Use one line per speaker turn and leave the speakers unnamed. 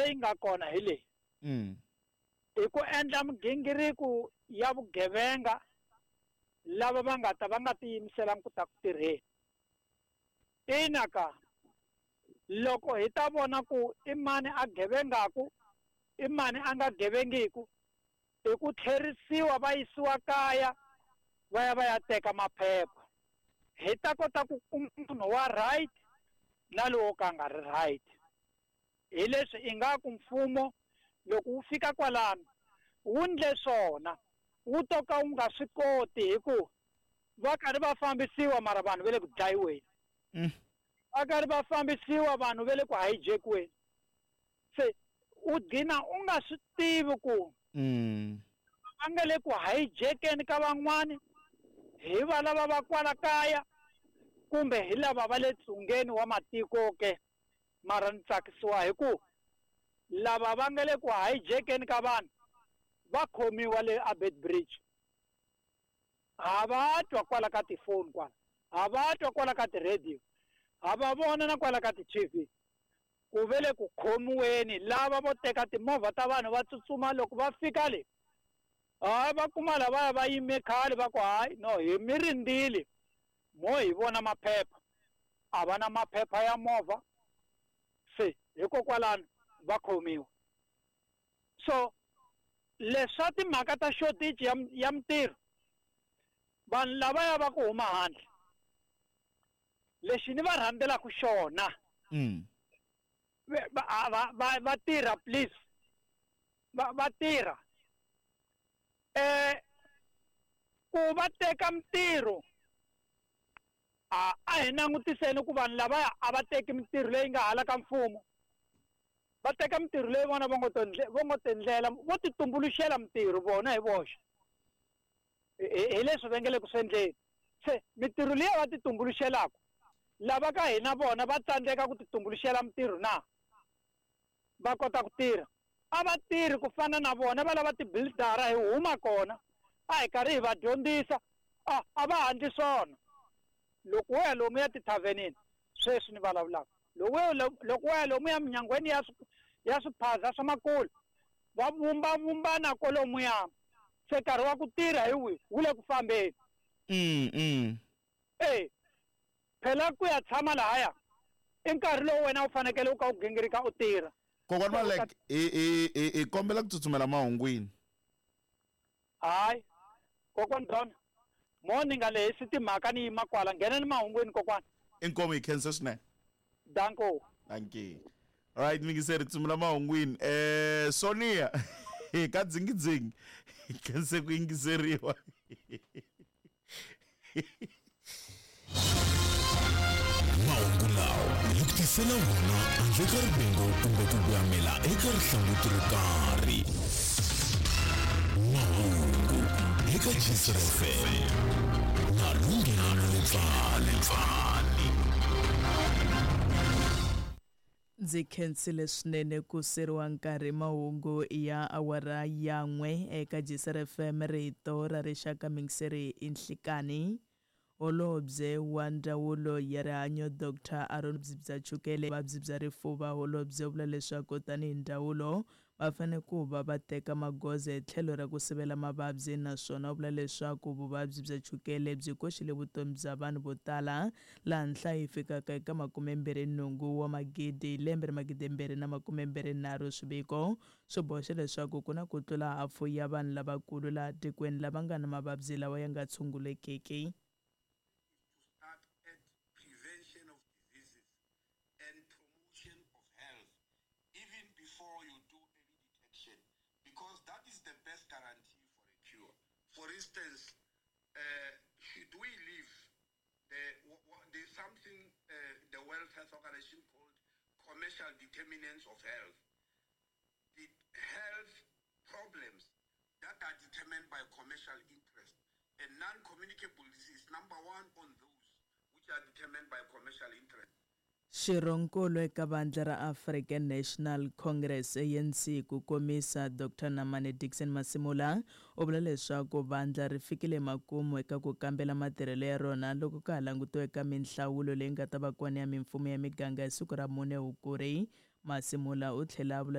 leyi nga kona hi leyi. I ku endla migingiriko ya vugevenga lava va nga ta va nga tiyimiselangi ku ta ku tirheni. Ina ka loko hi ta vona ku i mani a gevengaku, i mani a nga gevengiku, i ku tlherisiwa va yisiwa kaya va ya va ya teka maphepha. Hi ta kota ku kuma munhu wa right na lowo ka nga ri right. Hi leswi ingaku mfumo loko wu fika kwalano wu ndle swona, wu to ka wu nga swi koti hi ku va karhi va fambisiwa mara vanhu va le ku dlayiweni. Va karhi va fambisiwa vanhu va le ku hijackiweni. Se u gcina u nga swi tivi ku va nga le ku hijackeni ka van'wani hi va lava va kwala kaya kumbe hi lava va le tsungeni wa matiko ke. Mara ni tsakisiwa hi ku lava va nga le ku hijackeni ka vanhu va khomiwa le aBeitbridge. Ha va twa kwala ka tifoni kwala, ha va twa kwala ka ti-radio, ha va vona na kwala ka ti-TV. Ku ve le ku khomiweni lava vo teka timovha ta vanhu va tsutsuma loko va fika le, hayi va kuma lavaya va yime khale va ku hayi no hi mi rindzile mo hi vona maphepha, a va na maphepha ya movha, se hikokwalano va khomiwa. So leswa timhaka ta shortage ya mintirho, vanhu lavaya va ku huma handle, lexi ni va rhandzelaka xona, va tirha please, va tirha. Ku va teka mintirho, a hi langutiseni ku vanhu lavaya a va teki mintirho leyi nga hala ka mfumo, va teka mintirho leyi vona va ngo va ngo tendlela, vo ti tumbuluxela mintirho vona hi voxe. Hi leswi va nge le ku swi endleni. Se mintirho liya va ti tumbuluxelaka, lava ka hina vona va tsandzeka ku ti tumbuluxela mintirho na va kota ku tirha. A va tirhi ku fana na vona va lava ti-buildera hi huma kona, a hi karhi hi va dyondzisa, a va handli swona. Loko wo ya lomu ya tithavhenini sweswi ni vulavulaka, loko wo ya lomu ya minyangweni ya swiphaza swa makulu, va vumba vumbana kwalomuya. Se nkarhi wa ku tirha hi wihi wu le ku fambeni. Phela ku ya tshama lahaya i nkarhi lowu wena u fanekele u ka u gingirika u tirha.
Kokwana Malek, hi kombela ku tsutsumela mahungwini.
Hayi, kokwana Don, mo ni nga lehisi timhaka ni yima kwala, nghena ni mahungwini kokwana.
Inkomu hi khensa swinene.
Danko.
Thank you. All right, mingiseri tsumula mahungwini. Sonia, ka dzingidzingi, khense ku yingiseriwa.
Mahungu lawa hi ku tisela wona handle ka rivengo kumbe ku voyamela eka rihlanguti ro karhi. Mahungu eka Gcr FM na Lunghelo Lepfani.
Ndzi khensile swinene ku seriwa nkarhi mahungu ya awara ya 1 eka Gcr FM rito ra rixaka mingiseri i nhlikani. Holobye wa ndzawulo ya rihanyo Dr Aaron bya chukele vuvabyi bya rifuva. Holobye u vula leswaku tanihi ndzawulo va fanele ku va va teka magoza hi tlhelo ra ku sivela mavabyi, naswona u vula leswaku vuvabyi bya chukele byi koxile vutomi bya vanhu vo tala laha nhlayo yi fikaka eka 28 wa magidi hi lembe ra 2023. Swiviko swi boxa leswaku ku na ku tlula hafu ya vanhu lavakulu laha tikweni lava nga na mavabyi lawa ya nga tshungulekiki.
Start at prevention of diseases and promotion of health even before you do early detection, because that is the best guarantee for a cure. For instance, should we leave there's something the World Health Organization called commercial determinants of health. The health problems that are determined by commercial interest, and non-communicable disease, number one on those which are determined by commercial interest.
Xirhonkulu eka vandla ra African National Congress ANC ku komisa Dr Namane Dickson Masimula u vula leswaku vandla ri fikile makumu eka ku kambela matirhelo ya rona loko ka ha langutiwe eka minhlawulo leyi nga ta va kona ya mimfumo ya miganga hi siku ra 4 Hukuri. Masimula u tlhela a vula